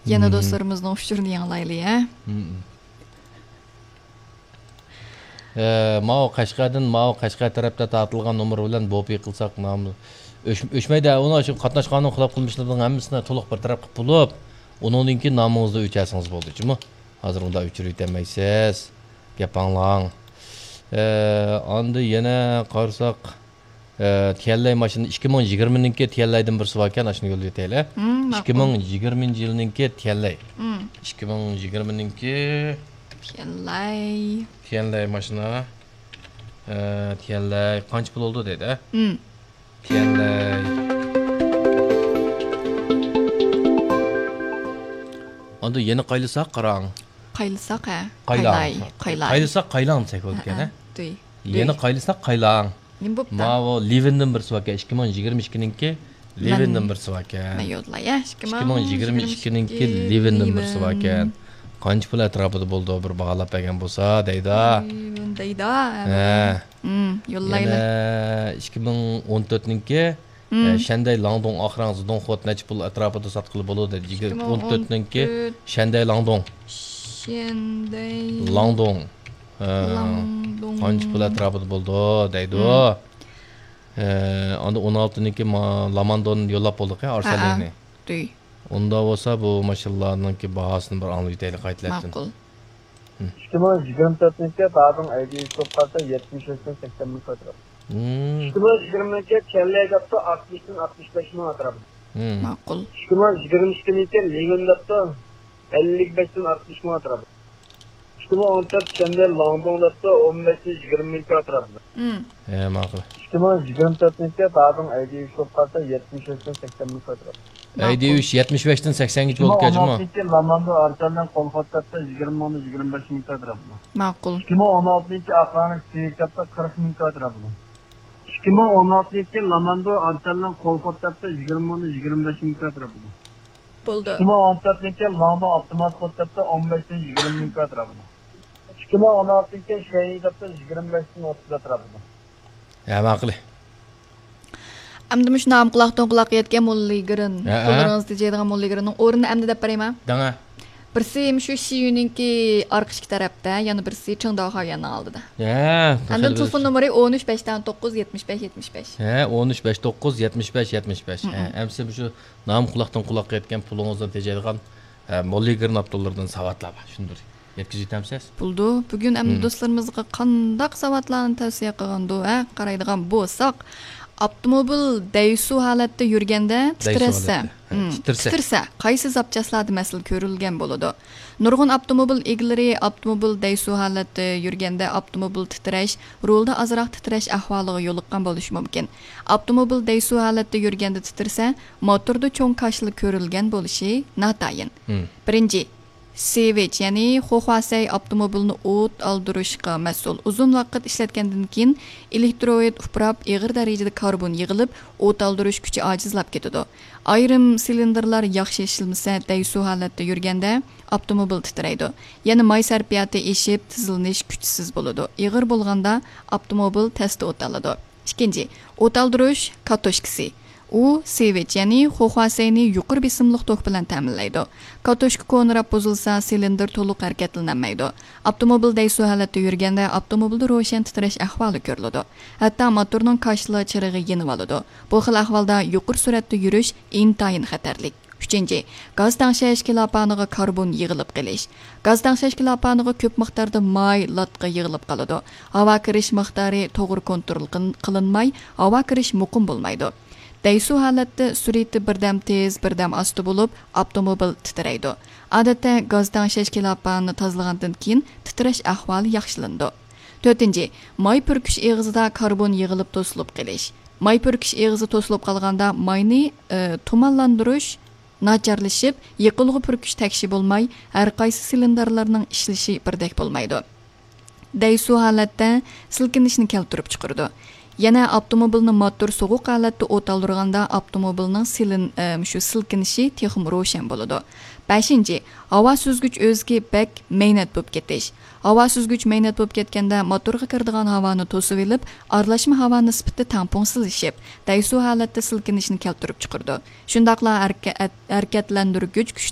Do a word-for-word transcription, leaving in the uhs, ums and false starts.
يەنە دوستلىرىمىزنىڭ ئۇچۇرىنى ياڭلايلى، ھە؟ ئە، ماۋۇ قەشقەردىن، ماۋۇ قەشقەر تەرەپتە تارتىلغان نومۇر بىلەن بوپى قىلساق، نامى ئۆچ-، ئۆچمەيدۇ. ئۇنىڭ ئۈچۈن قاتناشقاننىڭ خىلاپ قىلمىشلىرىنىڭ ھەممىسىنى تولۇق بىر تەرەپ قىلىپ بولۇپ، ئۇنىڭدىن كېيىن نامىڭىزنى ئۆچەرسىڭىز بولدى، جۇمۇ. ھازىر ئۇنداق ئۆچۈرۈۋېتەلمەيسىز. گەپ ئاڭلاڭ. ئە، ئاندىن يەنە قارىساق، ئە، تيەنلەي ماشىنا ئىككى مىڭ يىگىرمىنىڭكى تيەنلەيدىن بىرسى باركەن، ئاشۇنى يوللىۋېتەيلى. مم، ماقۇل. ئىككى مىڭ يىگىرمىنچى يىلنىڭكى تيەنلەي. مم. ئىككى مىڭ يىگىرمىنىڭكى تيەنلەي. تيەنلەي ماشىنا. ئە، تيەنلەي قانچە پۇل بولدى دەيدۇ، ھە؟ مم. تيەنلەي. ئاندىن يەنە قايلىساق قاراڭ. قايلىساق، ھە؟ قايلاڭ. قايلاي، قايلاي. قايلىساق قايلاڭ دېسەك بولىدىكەن، ھە؟ ھە، ھە. دۇي. يەنە دۇي. قايلىساق قايلاڭ. نېمە بوپتۇ؟ ماۋۇ لىۋىندىن بىرسى باركەن، ئىككى مىڭ يىگىرمە ئىككىنىڭكى لىۋىندىن مەن، بىرسى باركەن. مەن يوللاي، ھە؟ ئىككى مىڭ يىگىرمە ئىككىنىڭكى لىۋىندىن بىرسى باركەن. قانچە پۇل ئەتراپىدا بولىدۇ، بىر باھالاپ بەرگەن بولسا دەيدۇ. لىۋىن دەيدۇ، ھە. ھە. مم، يوللايلى. يەنە ئىككى مىڭ ئون تۆتنىڭكى، مم. ئە، شەندەي لاڭدۇڭ ئاخرىڭ زىدۇڭخوت نەچچە پۇل ئەتراپىدا ساتقىلى بولىدۇ دەيدۇ. ئىككى مىڭ ئون تۆتنىڭكى ئىككى مىڭ ئون تۆت. شەندەي لاڭدۇڭ. شەندەي لاڭدۇڭ. ئە، لاڭدۇڭ. قانچە پۇل ئەتراپىدا بولىدۇ دەيدۇ. مم. ئە، ئاندىن ئون ئالتىنىڭكى ما-، لاماندون يوللاپ بولدۇق يا، ھە، ئارسەلىنى. ھە. دۇي. ئۇنداق بولسا بۇ ماشىنىلارنىڭكى باھاسىنى بىر ئاڭلىۋېتەيلى قايتىلەتتىن. ماقۇل. ھىم. ئىككى مىڭ يىگىرمە تۆتنىڭكى دادىڭ ئەيدىشى بولۇپ قالسا يەتمىش بەشتىن سەكسەن مىڭ كۋادرات. ھىم. ئىككى مىڭ يىگىرمىنىڭكى تيەنلەي دەپتۇ، ئاتمىشتىن ئاتمىش بەش مىڭ ئەتراپىدا. ھىم. ماقۇل. ئىككى مىڭ يىگىرمە ئىككىنىڭكى لىۋىن دەپتۇ، ئەللىك بەشتىن ئاتمىش مىڭ ئەتراپىدا. ئىككى مىڭ ئون تۆت شەندەي لاڭدۇڭ دەپتۇ، ئون بەشتىن يىگىرمە مىڭ كۋادرات. ھىم. ھە، ماقۇل. ئىككى مىڭ يىگىرمە تۆتىنچى دادىڭ ئەيدىيۈش بولۇپ قالسا يەتمىش بەشتىن سەكسەن مىڭ كۋادرات. ماقۇل. ئەيدىيۈش يەتمىش بەشتىن سەكسەنگىچە بولىدىكەن جۇمۇ. ئىككى مىڭ ئون ئالتىنچى لاماندۇ ئارسەنلەن قولخوت دەپتۇ، يىگىرمە مىڭدىن يىگىرمە بەش مىڭ كۋادرات. ماقۇل. ئىككى مىڭ ئون ئالتىنچى ئاقلارنىڭ سېۋىك دەپتۇ، قىرىق مىڭ كۋادرات. ئىككى مىڭ ئون ئالتىنچى لاماندۇ ئارسەنلەن قولخوت دەپتۇ، يىگىرمە مىڭدىن يىگىرمە بەش مىڭ كۋادرات. بولدى. ئىككى مىڭ ئون تۆتىنچى لامدۇ ئاپتومات قوت دەپتۇ، ئون بەشتىن يىگىرمە مىڭ كۋادرات. ئىككى مىڭ ئون ئالتىنچى شەيئى دەپتۇ، يىگىرمە بەشتىن ئوتتۇز ئەتراپىدا. ھە، ماقۇل. ئەمدى مۇشۇ نام قۇلاقتىن قۇلاققا يەتكەن موللىگرىن، ھە، ھە. قوللىرىڭىزدا تېجەيدىغان موللىگرىننىڭ ئورنىنى ئەمدى دەپ بېرەيمۇ؟ دەڭە. بىرسى مۇشۇ شىيۈنىڭكى ئارقا ئىشىك تەرەپتە، يەنە بىرسى چىڭداۋ خاۋيەننىڭ ئالدىدا. ھە، ئاندىن تېلېفون نومۇرى ئون ئۈچ بەشتىن توققۇز يەتمىش بەش يەتمىش بەش. ھە، ئون ئۈچ بەش توققۇز يەتمىش بەش يەتمىش بەش. ھە، ھە. ئەمسە مۇشۇ نام قۇلاقتىن قۇلاققا يەتكەن پۇلىڭىزدىن تېجەيدىغان، ھە، موللىگرىن ئاپتورلىرىدىن ساۋاتلار بار. شۇنى بىر يەتكۈزۈۋېتەمسىز؟ بولىدۇ. بۈگۈن ئەمدى ھىم. دوستلىرىمىزغا قانداق ساۋاتلارنى تەۋسىيە قىلغاندۇ، ھە؟ قارايدىغان بولساق، ئاپتوموبىل دەيسۇ ھالەتتە يۈرگەندە دەيسۇ تىترەتسە، ھالەتتە. ھە، ھىم، تىترىسە. تىترىسە، قايسى زاپچاسلاردا مەسىلە كۆرۈلگەن بولىدۇ؟ نۇرغۇن ئاپتوموبىل ئىگىلىرى ئاپتوموبىل دەيسۇ ھالەتتە يۈرگەندە ئاپتوموبىل تىترەش، رۇلدا ئازراق تىترەش ئەھۋالىغا يولۇققان بولۇشى مۇمكىن. ئاپتوموبىل دەيسۇ ھالەتتە يۈرگەندە تىترىسە، موتوردا چوڭ كاشىلا كۆرۈلگەن بولۇشى ناتايىن. ھىم. بىرىنچى، سېۋىچ، يەنى خوخۋاسەي ئاپتوموبىلنى ئوت ئالدۇرۇشقا مەسئۇل. ئۇزۇن ۋاقىت ئىشلەتكەندىن كېيىن، ئېلېكتروئىد ئۇپراپ، ئېغىر دەرىجىدە كاربون يىغىلىپ، ئوت ئالدۇرۇش كۈچى ئاجىزلاپ كېتىدۇ. ئايرىم سىلىندىرلار ياخشى ئىشلىمىسە، دەيسۇ ھالەتتە يۈرگەندە ئاپتوموبىل تىترەيدۇ. يەنە ماي سەرپىياتى ئېشىپ، تىزلىنىش كۈچسىز بولىدۇ. ئېغىر بولغاندا ئاپتوموبىل تەستە ئوت ئالىدۇ. ئىككىنچى، ئوت ئالدۇرۇش كاتوشكىسى. ئۇ سېۋىچ، يەنى خوخۋاسەينى يۇقىرى بېسىملىق توك بىلەن تەمىنلەيدۇ. كاتوشكا كونىراپ بۇزۇلسا، سىلىندىر تولۇق ھەرىكەتلىنەلمەيدۇ. ئاپتوموبىل دەيسۇ ھالەتتە يۈرگەندە، ئاپتوموبىلدا روشەن تىترەش ئەھۋالى كۆرۈلىدۇ. ھەتتا موتورنىڭ كاشىلا چىرىغى يېنىۋالىدۇ. بۇ خىل ئەھۋالدا يۇقىرى سۈرئەتتە يۈرۈش ئىنتايىن خەتەرلىك. ئۈچىنچى، گاز تەڭشەش كىلاپانىغا كاربون يىغىلىپ قېلىش. گاز تەڭشەش كىلاپانىغا كۆپ مىقداردا ماي، لاتقا يىغىلىپ قالىدۇ. ھاۋا كىرىش مىقدارى توغرا كونترول قىل-، قىلىنماي، ھاۋا كىرىش مۇقىم بولمايدۇ. دەيسۇ ھالەتتە سۈرئىتى بىردەم تېز، بىردەم ئاستا بولۇپ، ئاپتوموبىل تىترەيدۇ. ئادەتتە گاز تەڭشەش كىلاپانىنى تازىلىغاندىن كېيىن تىترەش ئەھۋالى ياخشىلىنىدۇ. تۆتىنچى، ماي پۈركۈش ئېغىزىدا كاربون يىغىلىپ توسۇلۇپ قېلىش. ماي پۈركۈش ئېغىزى توسۇلۇپ قالغاندا ماينى، ئى، تۇمانلاندۇرۇش ناچارلىشىپ، يېقىلغۇ پۈركۈش تەكشى بولماي، ھەرقايسى سىلىندىرلارنىڭ ئىشلىشى بىردەك بولمايدۇ. دەيسۇ ھالەتتە سىلكىنىشنى كەلتۈرۈپ چىقىرىدۇ. يەنە ئاپتوموبىلنى ماتور سوغۇق ھالەتتە ئوت ئالدۇرغاندا ئاپتوموبىلنىڭ سىلىن-، ئە، مۇشۇ سىلكىنىشى تېخىمۇ روشەن بولىدۇ. بەشىنچى، ھاۋا سۈزگۈچ ئۆزىكى بەك مەينەت بولۇپ كېتىش. ھاۋا سۈزگۈچ مەينەت بولۇپ كەتكەندە، ماتورغا كىرىدىغان ھاۋانى توسۇۋېلىپ، ئارىلاشما ھاۋا نىسبىتى تەڭپۇڭسىزلىشىپ، دەيسۇ ھالەتتە سىلكىنىشنى كەلتۈرۈپ چىقىرىدۇ. شۇنداقلا ھەرىكە-، ھەرىكەتلەندۈرگۈچ كۈچنى